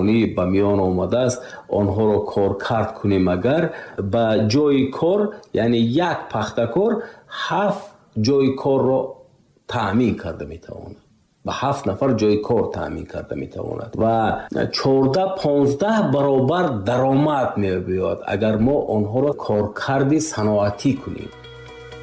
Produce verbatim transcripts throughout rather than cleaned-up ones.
пахтаконӣ ба миён омадааст, онҳоро коркард кунем, агар ба ҷои кор, яъне як пахтакор ҳафт ҷои корро таъмин карда метавонад, ба ҳафт нафар ҷои кор таъмин карда метавонад ва чордаҳ понздаҳ баробар даромад меояд, агар мо онҳоро коркарди саноатӣ кунем.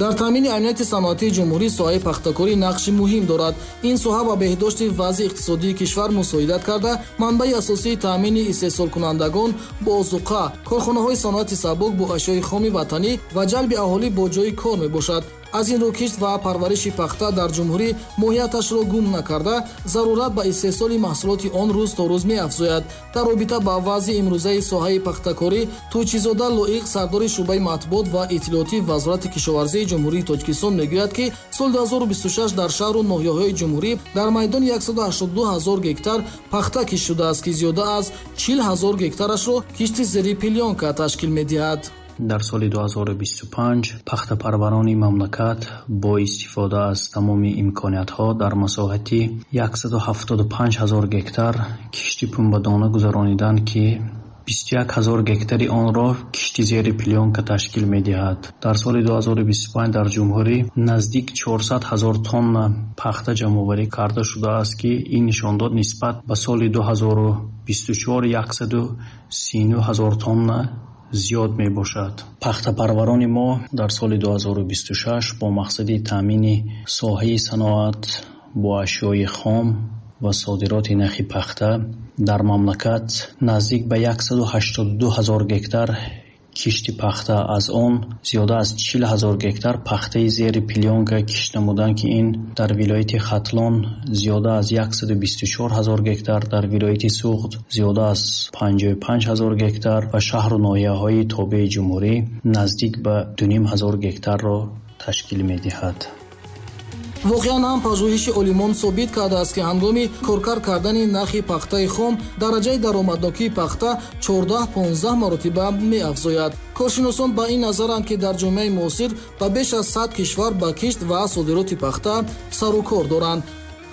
Дар таъмини амнияти саноатии ҷумҳурӣ соҳаи пахтакорӣ нақши муҳим дорад. Ин соҳа ба беҳдошти вазъи иқтисодии кишвар мусоидат карда, манбаи асосии таъмини истеҳсолкунандагон бо озуқа, корхонаҳои саноати сабук бо ашёи хоми ватанӣ ва ҷалби аҳолӣ бо ҷои кор мебошад. Аз ин рӯ кишт ва парвариши пахта дар ҷумҳурӣ моҳияташро гум накарда, зарурат ба истеҳсоли маҳсулоти он рӯз то рӯз меафзояд. Дар робита ба вазъи имрӯзаи соҳаи пахтакорӣ Тӯйчизода Лоиқ, сардори шӯъбаи матбуот ва иттилоотии Вазорати кишоварзии Ҷумҳурии Тоҷикистон, мегӯяд, ки соли ду ҳазору бисту шаш дар шаҳру ноҳияҳои ҷумҳурӣ дар майдони яксаду ҳаштоду ду ҳазор гектар пахта кишт шудааст, ки зиёда аз чил ҳазор гектарашро кишти зери плёнка ташкил медиҳад. Дар соли ду ҳазору бисту панҷ пахтапарварони мамлакат бо истифода аз тамоми имкониятҳо дар масоҳати яксаду ҳафтоду панҷ ҳазор гектар кишти пунбадона гузарониданд, ки бисту як ҳазор гектари онро кишти зери плёнка ташкил медиҳад. Дар соли ду ҳазору бисту панҷ дар ҷумҳурӣ наздик чорсад ҳазор тонна пахта ҷамъоварӣ карда шудааст, ки ин нишондод нисбат ба соли ду ҳазору бисту чор яксаду сину ҳазор тонна зиёд мебошад. Пахтапарварони мо дар соли ду ҳазору бисту шаш бо мақсади таъмини соҳаи саноат бо ашёи хом ва содироти нахи пахта дар мамлакат наздик ба яксаду ҳаштоду ду ҳазор гектар кишти пахта, аз он зиёда аз чил ҳазор гектар пахтаи зери плёнка кишт намуданд, ки ин дар вилояти Хатлон зиёда аз яксаду бисту чор ҳазор гектар, дар вилояти Суғд зиёда аз панҷоҳу панҷ ҳазор гектар ва шаҳру ноҳияҳои тобеи ҷумҳурӣ наздик ба ду ним ҳазор гектарро ташкил медиҳад. Воқеан ҳам пажӯҳиши олимон собит кардааст, ки ҳангоми коркард кардани нархи пахтаи хом дараҷаи даромаднокии пахта чордаҳ понздаҳ маротиба меафзояд. Коршиносон ба ин назаранд, ки дар ҷомеаи муосир ба беш аз сад кишвар ба кишт ва содироти пахта сару кор доранд.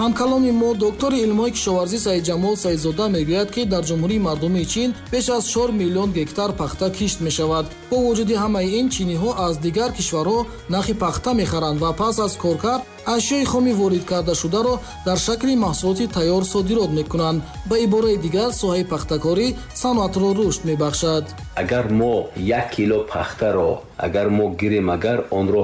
Ҳамкаломи мо доктори илмҳои кишоварзӣ Саидҷамол Саидзода мегӯяд, ки дар Ҷумҳурии Мардумии Чин беш аз чор миллион гектар пахта кишт мешавад. Бо вуҷуди ҳамаи ин, чиниҳо аз дигар кишварҳо нахи пахта мехаранд ва пас аз коркард ашёи хоми ворид кардашударо дар шакли маҳсулоти тайёр содирот мекунанд. Ба ибораи дигар, соҳаи пахтакорӣ саноатро рушд мебахшад. Агар мо як кило пахтаро агар мо гирем, агар онро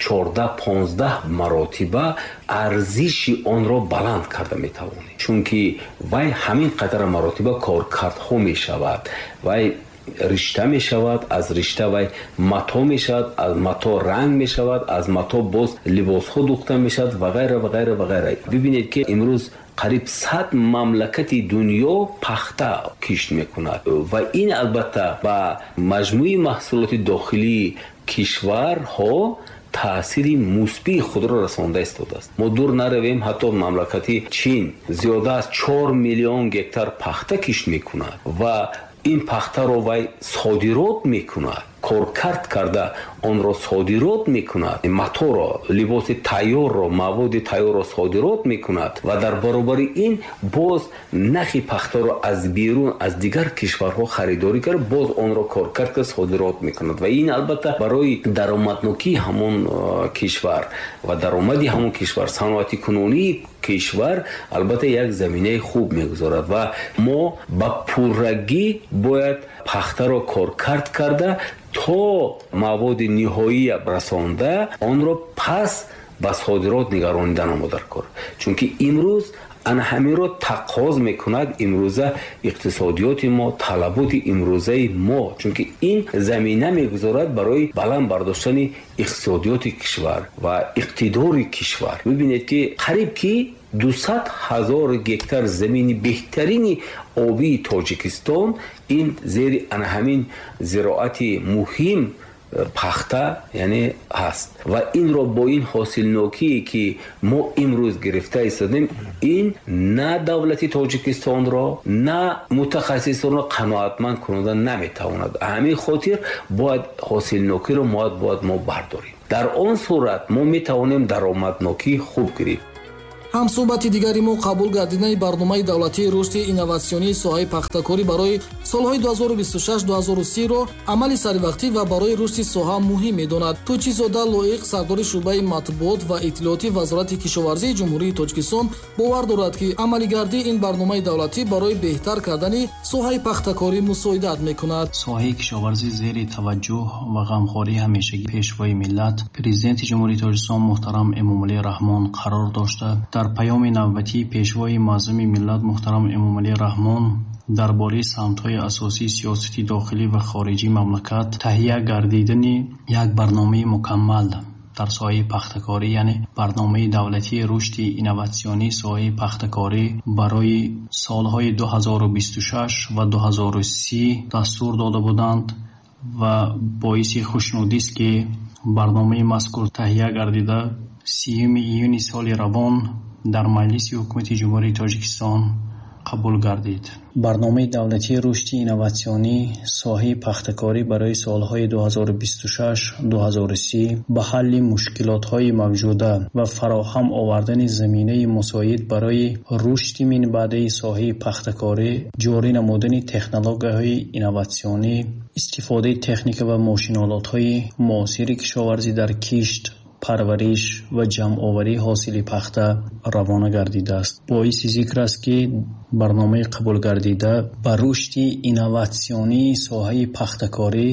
чордаҳ понздаҳ маротиба арзиши онро баланд карда метавонем, чунки вай ҳамин қадар маротиба коркардҳо мешавад, вай ришта мешавад, аз ришта вай мато мешавад, аз мато ранг мешавад, аз мато боз либосҳо духта мешавад ва ғайра ва ғайра ва ғайра. Бибинед, ки имрӯз қариб сад мамлакати дунё пахта кишт мекунад ва ин албатта ба маҷмӯи маҳсулоти дохилии кишварҳо таъсири мусбии худро расонда истодааст. Мо дур наравем, ҳатто мамлакати Чин зиёда аз чор миллион гектар пахта кишт мекунад ва ин пахтаро вай содирот мекунад, коркард карда онро содирот мекунад, маторо, либоси тайёрро, маводи тайёрро содирот мекунад ва дар баробари ин боз нахи пахтаро аз берун, аз дигар кишварҳо харидорӣ карда, боз онро коркард карда содирот мекунад ва ин албатта барои даромаднокии ҳамон кишвар ва даромади ҳамон кишвар, саноати кунунии кишвар албатта як заминаи хуб мегузорад ва мо ба пуррагӣ бояд пахтаро коркард карда то маводи ниҳоия расонда онро пас ба содирот нигаронидан мо дар кор, чунки имрӯз ана ҳаминро тақоз мекунад имрӯза иқтисодиёти мо, талаботи имрӯзаи мо, чунки ин замина мегузорад барои баланд бардоштани иқтисодиёти кишвар ва иқтидори кишвар. Бибинед, ки қариб ки дусад ҳазор гектар замини беҳтарини обии Тоҷикистон ин зери ана ҳамин зироати муҳим пахта яъне ҳаст ва инро бо ин ҳосилнокие ки мо имрӯз гирифта истодем, ин на давлати Тоҷикистонро, на мутахассисонро қаноатманд кунонда наметавонад. Ҳамин хотир бояд ҳосилнокиро бояд мо бардорем. Дар он сурат мо метавонем даромаднокии хуб гирифт. Ҳамсӯҳбати дигари мо қабул гардидани барномаи давлатии рушди инноватсионии соҳаи пахтакорӣ барои солҳои ду ҳазору бисту шаш ду ҳазору си ро амали саривақтӣ ва барои рушди соҳа муҳим медонад. Тӯйчизода Лоиқ, сардори шӯъбаи матбуот ва иттилооти Вазорати кишоварзии Ҷумҳурии Тоҷикистон, бовар дорад, ки амалигардии ин барномаи давлатӣ барои беҳтар кардани соҳаи пахтакорӣ мусоидат мекунад. Соҳаи кишоварзӣ зери таваҷҷӯҳ ва ғамхории ҳамешагии Пешвои миллат, Президенти Ҷумҳурии Тоҷикистон муҳтарам Эмомалӣ Раҳмон қарор дошта, дар паёми навбатии Пешвои муаззами миллат муҳтарам Эмомалӣ Раҳмон дар бораи самтҳои асосии сиёсати дохилӣ ва хориҷии мамлакат таҳия гардидани як барномаи мукаммал дар соҳаи пахтакорӣ, яъне барномаи давлатии рушди инноватсионии соҳаи пахтакорӣ барои солҳои ду ҳазору бисту шаш ва ду ҳазору си дастур дода буданд ва боиси хушнудист, ки барномаи мазкур таҳия гардида сиюми июни соли равон дар Маҷлиси Ҳукумати Ҷумҳурии Тоҷикистон қабул гардид. Барномаи давлатии рушди инноватсионии соҳаи пахтакорӣ барои солҳои ду ҳазору бисту шаш ду ҳазору си ба ҳалли мушкилотҳои мавҷуда ва фароҳам овардани заминаи мусоид барои рушди минбаъдаи соҳаи пахтакорӣ, ҷорӣ намудани технологияҳои инноватсионӣ, истифодаи техника ва мошинолотҳои муосири кишоварзӣ дар кишт, парвариш ва ҷамъоварии ҳосили пахта равона гардидааст. Боиси зикр аст, ки барномаи қабулгардида ба рушди инноватсионии соҳаи пахтакорӣ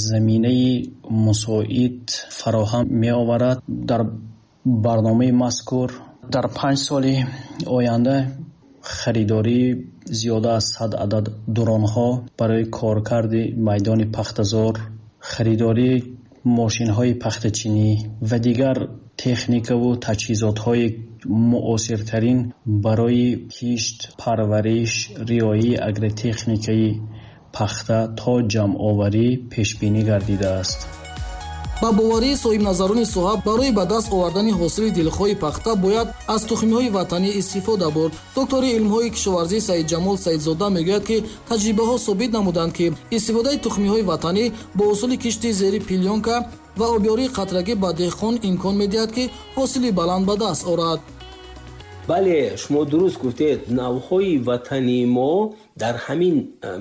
заминаи мусоид фароҳам меоварад. Дар барномаи мазкур дар панҷ соли оянда харидории зиёда аз сад адад дронҳо барои коркарди майдони пахтазор, харидории мошинҳои пахтачинӣ ва дигар техникаву таҷҳизотҳои муосиртарин барои кишт, парвариш, риояи агротехникаи пахта то ҷамъоварӣ пешбинӣ гардидааст. Ба боварии соҳибназарони соҳа, барои ба даст овардани ҳосили дилхоҳи пахта бояд аз тухмиҳои ватанӣ истифода бурд. Доктори илмҳои кишоварзӣ Саидҷамол Саидзода мегӯяд, ки таҷрибаҳо собит намуданд, ки истифодаи тухмиҳои ватанӣ бо усули кишти зери плёнка ва обёрии қатрагӣ ба деҳқон имкон медиҳад, ки ҳосили баланд ба даст орад. Бале, шумо дуруст гуфтед, навъҳои ватании мо дар ҳамин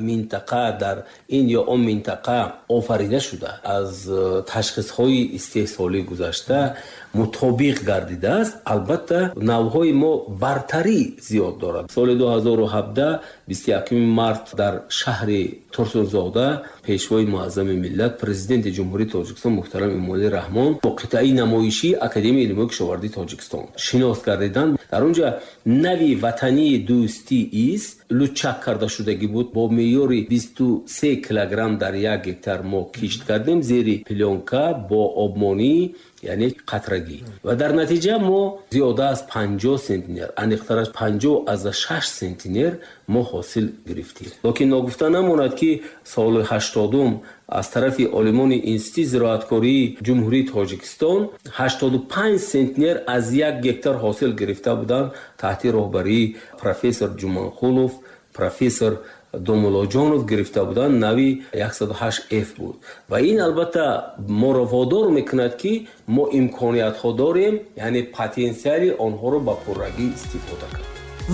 минтақа, дар ин ё он минтақа офарида шуда, аз ташхисҳои истеҳсолӣ гузашта мутобиқ гардидааст. Албатта, навъҳои мо бартарӣ зиёд дорад. Соли ду ҳазору ҳабдаҳ бисту якуми март дар шаҳри Турсунзода Пешвои муаззами миллат, Президенти Ҷумҳурии Тоҷикистон муҳтарам Эмомалӣ Раҳмон бо қитъаи намоишии Академияи илмҳои кишоварзии Тоҷикистон шинос гардиданд. Дар онҷа нави ватании дӯстӣ ис лучак карда шудагӣ буд. Бо меъёри бисту се килограмм дар як гектар мо кишт кардем зери плёнка бо обмонӣ, яъне қатрагӣ, ва дар натиҷа мо зиёда аз панҷоҳ сентнер, аниқтараш панҷоҳ аз шаш сентнер мо ҳосил гирифтем. Лекин ногуфта намонад, ки соли ҳаштодум аз тарафи олимони Институти зироаткории Ҷумҳурии Тоҷикистон ҳаштоду панҷ сентнер аз як гектар ҳосил гирифта буданд таҳти роҳбарии профессор Ҷуманқулов, профессор Домулоҷонов гирифта буданд, нави яксаду ҳашт эф буд. Ва ин албатта моро водор мекунад, ки мо имкониятҳо дорем, яъне потенсиали онҳоро ба пуррагӣ истифода кард.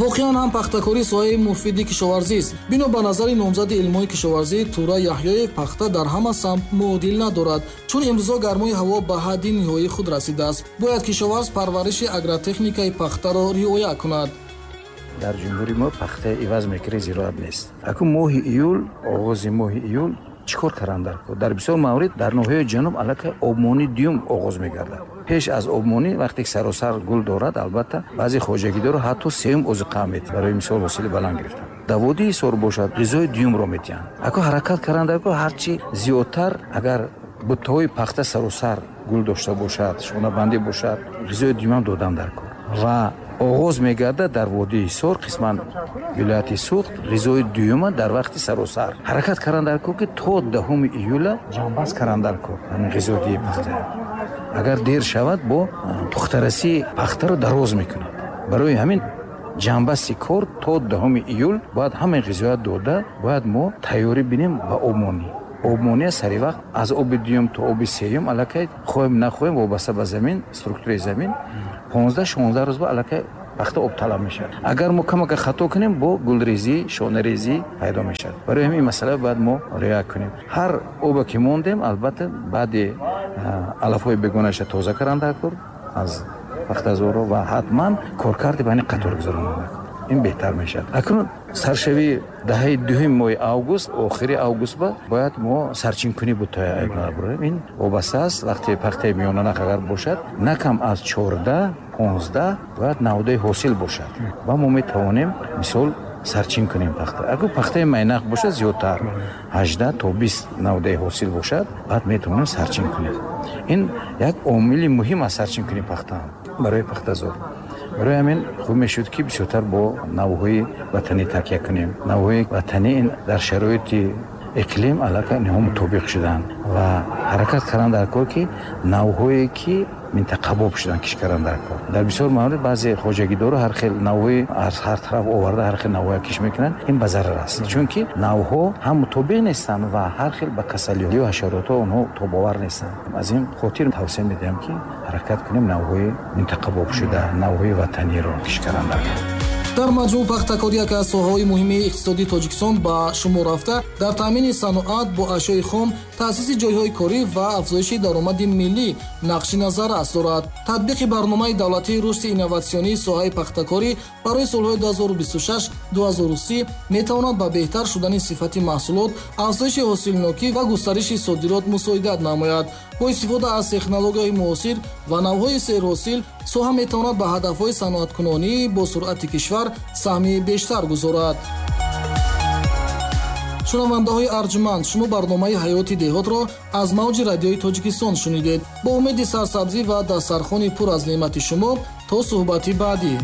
Воқеан ҳам пахтакорӣ соҳаи муфиди кишоварзист. Бино ба назари номзади илмҳои кишоварзӣ Тура Яҳёев, пахта дар ҳама самт муодил надорад, чун имрӯзо гармои ҳаво ба ҳадди ниҳоии худ расидааст. Бояд кишоварз парвариши агротехникаи пахтаро риоя кунад. Дар ҷумҳури мо пахта иваз мекунӣ зироат нест. Акун моҳи июл, оғози моҳи июл чӣ кор кардан дар кор? Дар бисёр маврид дар ноҳияи ҷануб аллакай обмонӣ дуюм оғоз мегардад. Пеш аз обмонӣ вақте ки саросар гул дорад, албатта баъзе хоҷагидорро ҳатто сеюм озуқа медиҳанд барои мисол ҳосили баланд гирифтан. Дар водии Ҳисор бошад, ғизои дуюмро медиҳанд. Акун ҳаракат кардан дар кор ҳарчи зиёдтар, агар буттаҳои пахта саросар гул дошта бошад, шонабандӣ бошад, ғизои дуюмам додан дар кор. Ва оғоз мегардад дар водии Ҳисор, қисман вилояти Суғд, ғизои дуюма дар вақти саросар. Ҳаракат кардан дар кор, ки то даҳуми июла ҷамъбаст кардан дар кор ҳамин ғизодиҳии пахта. Агар дер шавад, бо пухтарасии пахтаро дароз мекунад. Барои ҳамин ҷамъбасти кор то даҳуми июл бояд ҳамаи ғизоят дода, бояд мо тайёрӣ бинем ба обмонӣ. Обмонӣ сари вақт аз оби дуюм то оби сеюм аллакай хоҳем нахоҳем вобаста ба замин, структураи замин понздаҳ шонздаҳ рӯз ба аллакай Пахта об талаб мешавад. Агар мо камака хато кунем, бо гулрезӣ, шонарезӣ пайдо мешавад. Барои ҳамин масъала бояд мо риоя кунем. Ҳар оба ки мондем, албатта баъди алафҳои бегонаша тоза кардан даркор аз пахтазорро ва ҳатман коркарди байни қатор гузарондан даркор. Ин беҳтар мешавад. Акнун саршавии даҳаи дуюми моҳи август, охири август ба бояд мо сарчинкунӣ бутоя айб. Ин вобаста аст, вақте пахтаи миёнанах агар бошад, на кам аз чордаҳ, понздаҳ бояд навдаи ҳосил бошад ва мо метавонем мисол сарчин кунем пахта. Агар пахтаи майнақ бошад, зиёдтар ҳаждаҳ то бист навдаи ҳосил бошад, баъд метавонем сарчин кунем. Ин як омили муҳим аст сарчинкунии пахта барои пахтазор. Барои ҳамин хуб мешуд, ки бисёртар бо навъҳои ватанӣ такя кунем. Навъҳои ватанӣ ин дар шароити иқлим аллакай инҳо мутобиқ шуданд ва ҳаракат кардан дар кор, ки навъҳое ки минтақабоб шудан, киш кардан дар кор. Дар бисёр маврид баъзе хоҷагидору ҳар хел навъҳои аз ҳар тараф оварда ҳар хел навъҳоя киш мекунанд. Ин ба зарар аст, чунки навъҳо ҳам мутобиқ нестанд ва ҳар хел ба касалиҳо ҳашаротҳо онҳо тобовар нестанд. Аз ин хотир тавсия медиҳам, ки ҳаракат кунем навъҳои минтақабоб шуда, навъҳои ватаниро киш кардан дар кор. Дар маҷмӯъ пахтакорӣ яке аз соҳаҳои муҳими иқтисодии Тоҷикистон ба шумор рафта, дар таъмини саноат бо ашёи хом, таъсиси ҷойҳои корӣ ва афзоиши даромади миллӣ нақши назаррас дорад. Татбиқи барномаи давлатии рушди инноватсионии соҳаи пахтакорӣ барои солҳои ду ҳазору бисту шаш ду ҳазору си метавонад ба беҳтар шудани сифати маҳсулот, афзоиши ҳосилнокӣ ва густариши содирот мусоидат намояд. Бо истифода аз технологияҳои муосир ва навъҳои серҳосил, соҳа метавонад ба ҳадафҳои саноаткунонӣ бо суръати кишвар саҳми бештар гузорад. Шунавандаҳои арҷманд, шумо барномаи ҳаёти деҳотро аз мавҷи радиои Тоҷикистон шунидед. Бо умеди сарсабзӣ ва дастархони пур аз неъмати шумо то суҳбати баъдӣ.